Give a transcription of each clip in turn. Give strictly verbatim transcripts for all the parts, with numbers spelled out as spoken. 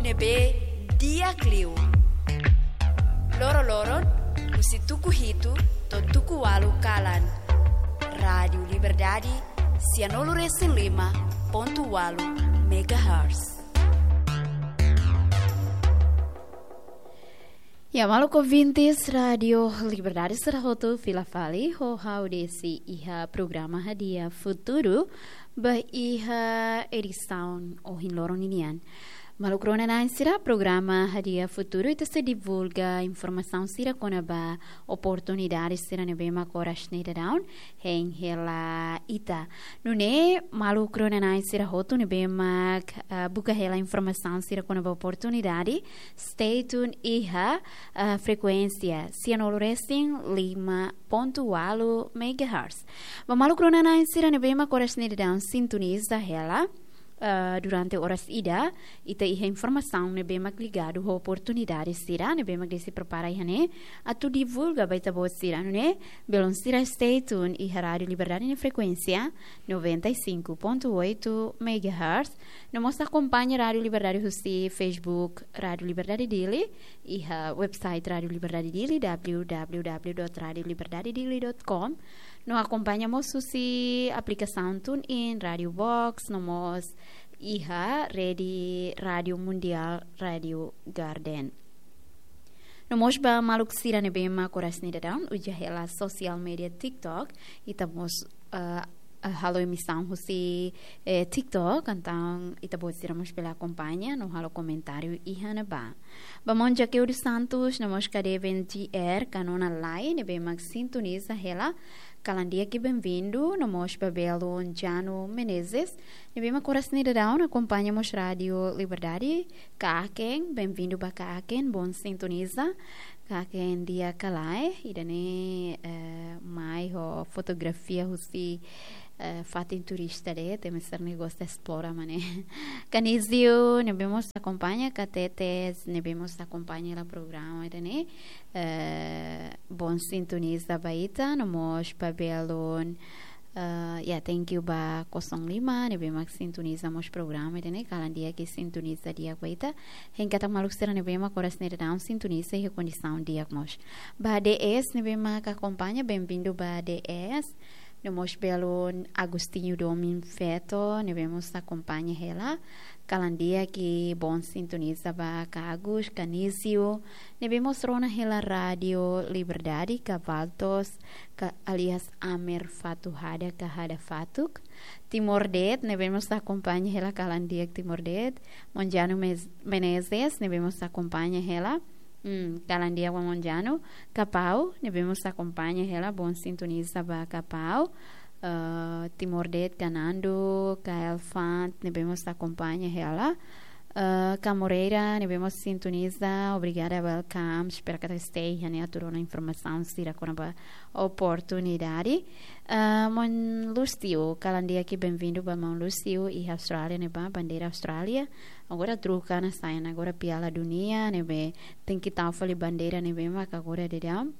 Ne'ebé di'ak liu. Loroloron, husi tuku hitu to'o tuku ualu kalan. Rádiu Liberdade, sianulu resin lima pontu ualu megahertz. Ya, maluk ouvintes Rádiu Liberdade sira hotu, fila fali ho ha'u Desi iha programa Hadi'a Futuru, ba iha edisaun ohin loron ninian. Maluk rona-na'in sira, programa Hadi'a Futuru ita sei divulga informasaun sira kona-ba oportunidade sira ne'ebé mak oras ne'e daudaun hein hela ita. Nune'e maluk rona-na'in sira hotu ne'ebé mak, ah, buka hela informasaun sira kona-ba oportunidade, stay tuned iha, ah, frekuénsia sianulu resin lima pontu ualu megahertz. Ba maluk rona-na'in sira ne'ebé mak oras ne'e daudaun sintoniza hela, ah, durante oras ida, ita iha informasaun ne'ebé mak ligadu ho oportunidade sira ne'ebé mak Desi prepara iha ne'e atu divulga ba ita-boot sira. Nune'e, belun sira stay tuned iha Rádiu Liberdade nia frekuénsia noventa e cinco ponto oito megahertz. No mós akompaña Rádiu Liberdade husi Facebook Rádiu Liberdade Dili, iha website Rádiu Liberdade Dili, www dot radio liberdade dili dot com. No akompaña mós husi aplikasaun TuneIn, Rádiu Box, no mós iha rede Rádiu Mundiál, Rádiu Garden. No mós ba maluk sira ne'ebé mak oras ne'e daudaun uza hela sosiál média TikTok, ita mós, eh, eh, halo emisaun husi, eh, TikTok, entaun ita-boot sira mós bele akompaña no halo komentáriu iha ne'ebá. Ba maun Jaqueu dos Santos, no mós Kadeven G R, ka Nona Lai, ne'ebé mak sintoniza hela, kalan di'ak i benvindu, no mós ba belun Jano Menezes, ne'ebé mak oras ne'e daudaun akompaña mós Rádiu Liberdade, Kaken, benvindu ba Kaken, bon sintoniza, Kaken di'ak ka lae, ida-ne'e, eh, mai ho fotografia husi, eh, fatin turista de'it, ema sira ne'e gosta esplora mak ne'e. Kanizio, ne'ebé mós akompaña, Katetes, ne'ebé mós akompaña hela programa ida-ne'e, eh, bon sintoniza ba ita, no mós ba belun, eh, ya, thank you ba Kosong Lima, ne'ebé mak sintoniza mós programa ida-ne'e, kalan di'ak i sintoniza di'ak ba ita. Hein katak maluk sira ne'ebé mak oras ne'e daudaun sintoniza iha kondisaun di'ak mós. Ba D S, ne'ebé mak akompaña, benvindu ba D S. No mós belun Agostinho Domin Feto, ne'ebé mós akompaña hela, kalan di'ak i bon sintoniza ba Agus, Kanizio, ne'ebé mós rona hela Rádiu Liberdade, Kavaltos, ka alias Amer Fatuhada, ka Hada Fatuk. Timor De'it, ne'ebé mós akompaña hela, kalan di'ak Timor De'it. Maun Jano Mes-, Menezes, ne'ebé mós akompaña hela. Hmm, kalan di'ak ba maun Jano. Kapau, ne'ebé mós akompaña hela, bon sintoniza ba Kapau. Eh, Timor De'it, Kanando, Kael Fant, ne'ebé mós akompaña hela. Eh, Kamoreira, ne'ebé mós sintoniza, obrigada, welcome. Espera katak stay iha ne'e atu rona informasaun sira kona-ba oportunidade. Eh, maun Lúcio, kalan di'ak i benvindu ba maun Lúcio iha Austrália ne'ebá, bandeira Austrália. Agora troka ona, sai ona agora Piala Dunia, ne'ebé tenke tau fali bandeira ne'ebé mak agora daudaun,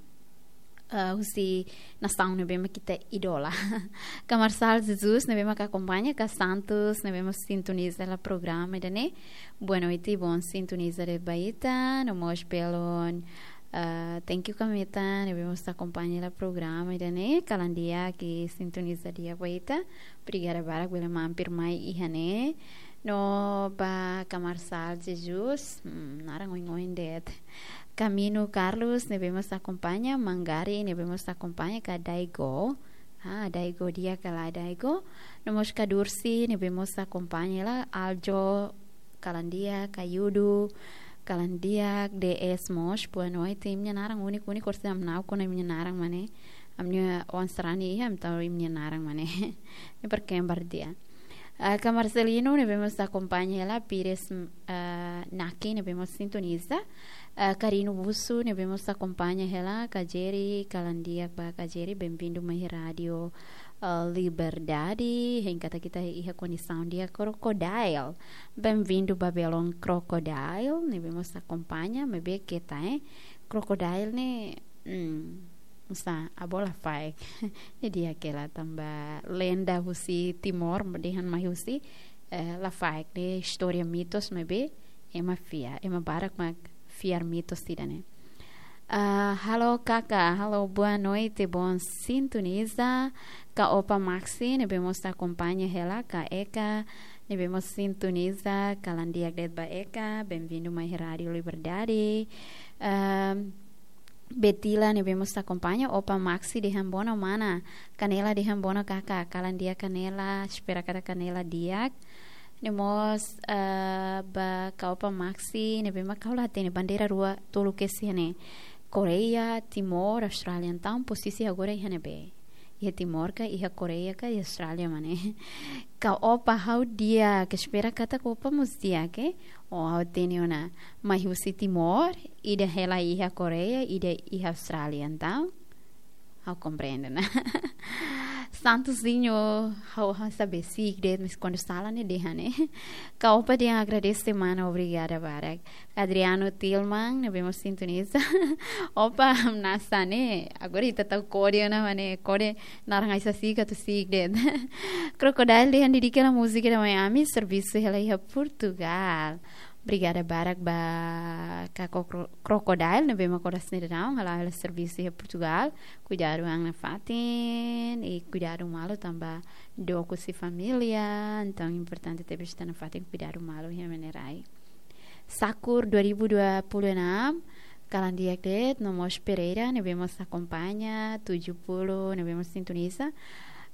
ah, husi nasaun ne'ebé mak ita idola. Ka Marçal Jesus, ne'ebé mak akompaña, ka Santos, ne'ebé mak sintoniza hela programa ida-ne'e. Boa noite, bon sintoniza de'it ba ita, no mós belun, ah, thank you Kameta, ne'ebé mós akompaña hela programa ida-ne'e, kalan di'ak i sintoniza di'ak ba ita. Obrigada barak, bele mampir mai iha ne'e. No ba Ka Marçal Jesus, hmm, naran oin-oin de'it. Camino Carlos, ne'ebé mós akompaña, Mangari, ne'ebé mós akompaña, ka Daigo. Ah, Daigo di'ak ka lae Daigo. No mós ka Dursi, ne'ebé mós akompaña hela, Aljo, kalan di'ak, ka Yudu, kalan di'ak, D S mós, boa noite, imi-nia naran úniku, úniku, orsida ami na'ok ona imi-nia naran mak ne'e. Ami-nia oan sarani iha, ami tau imi-nia naran mak ne'e. Ne'e para kembar di'ak. Ah, ka Marcelino, ne'ebé mós akompaña hela, Pires, ah, Naki, ne'ebé mós sintoniza. Ah, Karino Busu, ne'ebé mós akompaña hela, ka Jerry, kalan di'ak ba ka Jerry, benvindu mai Rádiu, ah, Liberdade, hein katak ita iha kondisaun di'ak. Crocodile, benvindu ba belun Crocodile, ne'ebé mós akompaña, maibé keta, eh. Crocodile ne'e, hmm, oinsá, avó lafaek. Ne'e di'ak hela tanba lenda husi Timor, dehan mai husi, eh, lafaek, ne'e istória mitos, maibé Ema fiar, ema barak mak fiar mitos ida-ne'e. Ah, halo kaka, halo boa noite, bom sintoniza. Ka Opa Maxi, ne'ebé mós akompaña hela, ka Eka, ne'ebé mós sintoniza, kalan di'ak de'it ba Eka, bem-vindo mai Rádio Liberdade. Ahm, Betila, ne'ebé mós akompaña, Opa Maxi dehan bona mana, Kanela dehan bona kaka, kalan di'ak Kanela, espera katak Kanela di'ak. No mós, ah, ba ka Opa Maxi, ne'ebé mak ha'u la hatene bandeira rua tolu kedas iha ne'e. Koreia, Timor, Austrália, entaun pozisi agora iha ne'ebé? Iha Timor ka, iha Koreia ka, iha Austrália mak ne'e? Ka Opa ha'u di'ak, ka espera katak Opa mós di'ak, eh? O ha'u hatene ona, mai husi Timor, ida hela iha Koreia, ida iha Austrália, entaun ha'u komprende ona. Santuzinho, ha'u, ha'u sabe siik de'it, mas kuandu sala ne'e dehan ne'e. Ka Opa dehan agradese mana, obrigada barak. Adriano Tilman, ne'ebé mós sintoniza. Opa, hamnasa ne'e. Agora ita tau kode ona mak ne'e, kode naran ai-sasi'ik atu siik de'it. Crocodile dehan dedika hela múzika ida mai ami, servisu hela iha Portugal. Obrigada barak ba ka Cro-, Crocodile, ne'ebé mak oras ne'e daudaun hala'o hela servisu iha Portugal. Kuidadu an nafatin, i kuidadu malu tanba dook husi família, entaun importante tebes ita nafatin kuidadu malu iha ema nia rai. Sakur dua ribu dua puluh enam, kalan di'ak de'it, no mós Pereira, ne'ebé mós akompaña, tujuh puluh, ne'ebé mós sintoniza,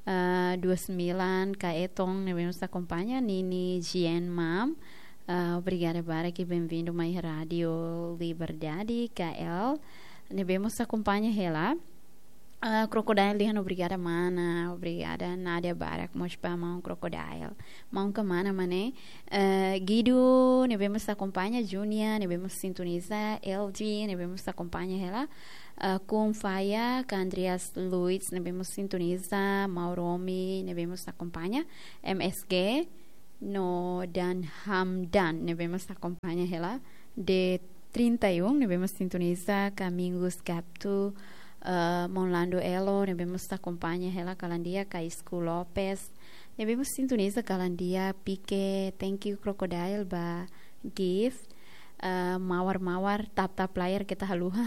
ah, dua sembilan, ka Eton, ne'ebé mós akompaña, Nini Jien Mam, ah, obrigada barak i bem-vindo mai Rádio Liberdade, K L, ne'ebé mós akompaña hela. Ah, Crocodile dehan obrigada mana, obrigada Nádia barak mós ba maun Crocodile. Maun ka mana mak ne'e? Ah, Guido, ne'ebé mós akompaña, Júnia, ne'ebé mós sintoniza, L G, ne'ebé mós akompaña hela. Ah, Kun Faya, ka Andreas Luiz, ne'ebé mós sintoniza, Mauromi, ne'ebé mós akompaña, M S G, no Dan Hamdan, ne'ebé mós akompaña hela. De trinta e um, ne'ebé mós sintoniza, ka Mingus Gaptu, ah, Monlando Elo, ne'ebé mós akompaña hela kalan di'ak, ka Isku Lopes, ne'ebé mós sintoniza kalan di'ak, Pike, thank you Crocodile ba gift, ah, Mawar Mawar, tap tap layar keta haluha.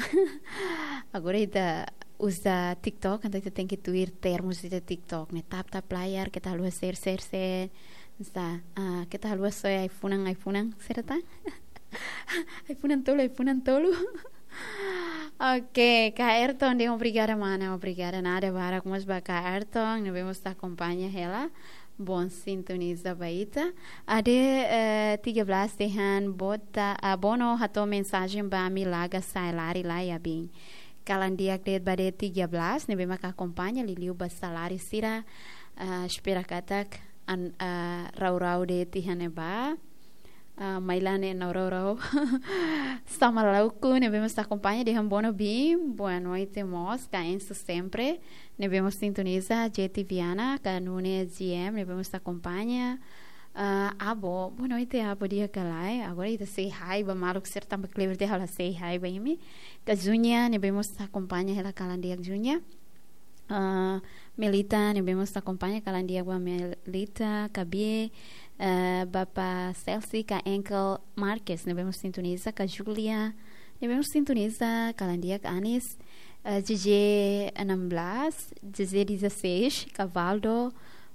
Agora ita uza TikTok, entaun ita tenke tuir termus ida TikTok ne'e, tap tap layar keta haluha share share share. Sa, ah, keta haluha soe ai-funan ai-funan, serta? Ai-funan tolu, ai-funan tolu. Oke, ka Ayrton dehan obrigada mana, obrigada Nádia barak mós ba ka Ayrton, ne'ebé mós akompaña hela. Bom sintoniza ba ita. Ade, eh, tiga belas dehan bota, ah, Bono hato'o mensajen ba ami laga sa'e lari lai abin. Kalan di'ak de'it ba ade tiga belas, ne'ebé maka akompaña, liuliu ba saláriu sira, ah, espera katak an, ah, rau-rau de'it iha ne'ebá. Ah, mai la ne'e nau rau-rau. Sama Lauku, ne'ebé mós akompaña dehan Bono bem, boa noite mós, ka Enzo sempre, ne'ebé mós sintoniza, J T Viana, ka Nunes G M, ne'ebé mós akompaña. Ah, Abo, boa noite, Abo, di'ak ka lae? Agora ita say hi ba maluk sira tanba kleber dehan ha'u la say hi ba imi. Ka Júnia, ne'ebé mós akompaña hela kalan di'ak Júnia. Ah, Melita, ne'ebé mós akompaña kalan di'ak ba Melita, ka Bie, eh, Bapa Celsi, ka Enkel Marques, ne'ebé mós sintoniza, ka Julia, ne'ebé mós sintoniza, kalan di'ak Anis, eh, J J enam belas, J J dezasseis, ka Valdo,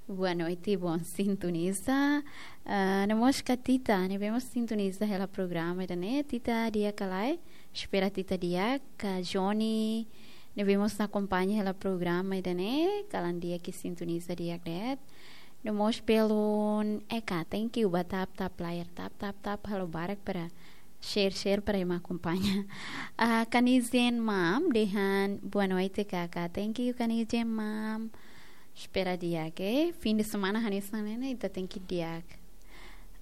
boa noite, bom sintoniza. Ah, no mós ka Tita, ne'ebé mós sintoniza hela programa ida-ne'e, Tita di'ak ka lae? Espera Tita di'ak, ka Johnny, ne'ebé mós akompaña hela programa ida-ne'e, kalan di'ak i sintoniza di'ak de'it. No mós belun, Eka, thank you ba tap tap layar, tap tap tap, halo barak para share share para ema akompaña. Ah, Kanizen Mam, dehan boa noite kaka, thank you Kanizen Mam. Espera di'ak, eh? Fim de semana hanesan ne'e ne'e, ita tenke di'ak.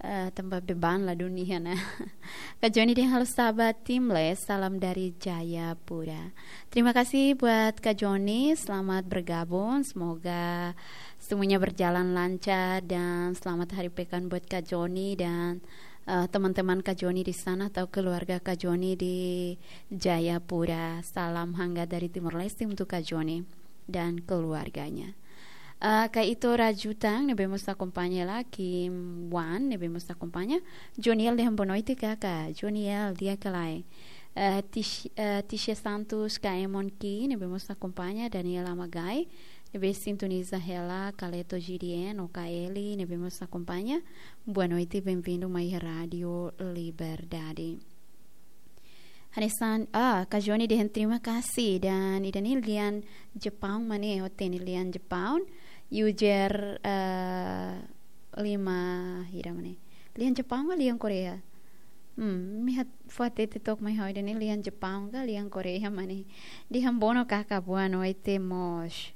Ah, tanba beban ladún iha ona. Ka Joni dehan halo Sabat Timle, salam dari Jayapura. Terima kasih buat Ka Joni, selamat bergabung. Semoga semuanya berjalan lancar dan selamat hari pekan buat Ka Joni dan, eh, teman-teman Ka Joni di sana atau keluarga Ka Joni di Jayapura. Salam hangat dari Timor Leste untuk Ka Joni dan keluarganya. Ah, Kaito Rajutan, ne'ebé mós akompaña hela, Kim Wan, ne'ebé mós akompaña. Joniel dehan boa noite, kaka. Joniel, di'ak ka lae? Ah, Tish-, ah, Tisha Santos, Ka Emon Ki, ne'ebé mós akompaña. Daniel Amagai, ne'ebé sintoniza hela, Kaleto G D N, O K L, ne'ebé mós akompaña. Boa noite, bem-vindo mai Rádio Liberdade. Hanesan, ah, Ka Joni dehan terima kasih, dan ida-ne'e lian Jepaun mak ne'e, ho teni lian Jepaun, user, eh, lima, hira mak ne'e. Lian Jepaun ka lian Korea? Hmm, imi hat-, fó hatete took mai ha'u, ida-ne'e lian Jepaun ka lian Korea mak ne'e. Dehan bono kaka, boa noite mós.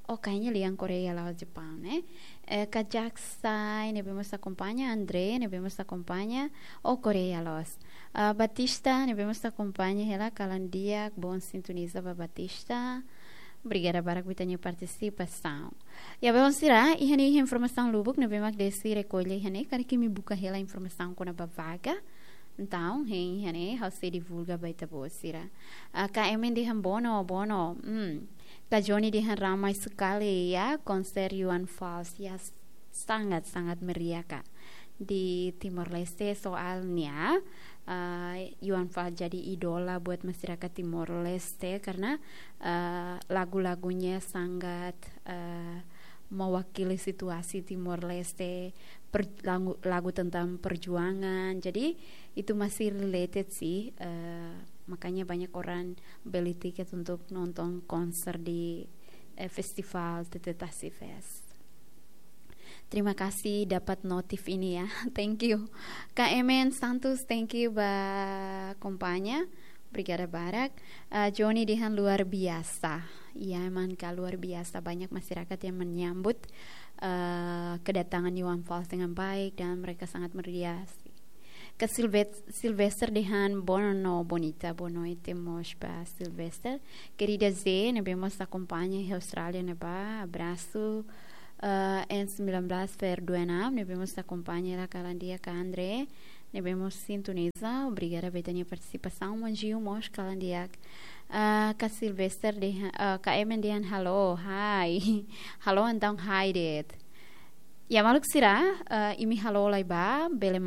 Oh, kayaknya lian Korea la'ós Jepaun, eh. Eh, Kajak Sai, ne'ebé mós akompaña, André, ne'ebé mós akompaña, oh, Korea loos. Ah, Batista, ne'ebé mós akompaña hela, kalan di'ak, bom sintoniza ba Batista. Obrigada barak ba ita-nia partisipasaun. Ya, belun sira, iha ne'e informasaun lubuk ne'ebé mak Desi rekolla iha ne'e, karik imi buka hela informasaun kona-ba vaga. Entaun, hein iha ne'e, ha'u sei divulga ba ita-boot sira. Ah, Ka Emen dehan bono, bono. Hmm. Ka Joni dehan ramai sekali ya, konser Johan Fals ya, sangat-sangat meriah, Kak. Di Timor Leste soalnya, eh, Johan Fals jadi idola buat masyarakat Timor Leste karena, eh, lagu-lagunya sangat, eh, mewakili situasi Timor Leste, per-, lagu, lagu tentang perjuangan. Jadi, itu masih related sih, eh, makanya banyak orang beli tiket untuk nonton konser di, eh, festival T T Tasi Fest. Terima kasih dapat notif ini ya. Thank you. Ka Emen Santos, thank you ba akompaña. Obrigada barak. Ah, Joni dehan luar biasa. Ya, emang, Kak, luar biasa. Banyak masyarakat yang menyambut, eh, kedatangan Johan Fals dengan baik dan mereka sangat meriah sih. Ka Silvet-, Sylvester dehan bono no bonita, boa noite mós ba Sylvester. Querida Z, ne'ebé mós akompaña iha Austrália ne'ebá, abrasu. Eh, N sembilan belas Fer dua enam, ne'ebé mós akompaña hela, kalan di'ak, Kak André, ne'ebé mós sintoniza, obrigada ba ita-nia partisipasaun, Manjiu mós, kalan di'ak. Eh, Ka Sylvester dehan, eh, Ka Emen dehan halo, hai. Halo entaun hai de'it. Ya, maluk sira, eh, imi halo lai ba, bele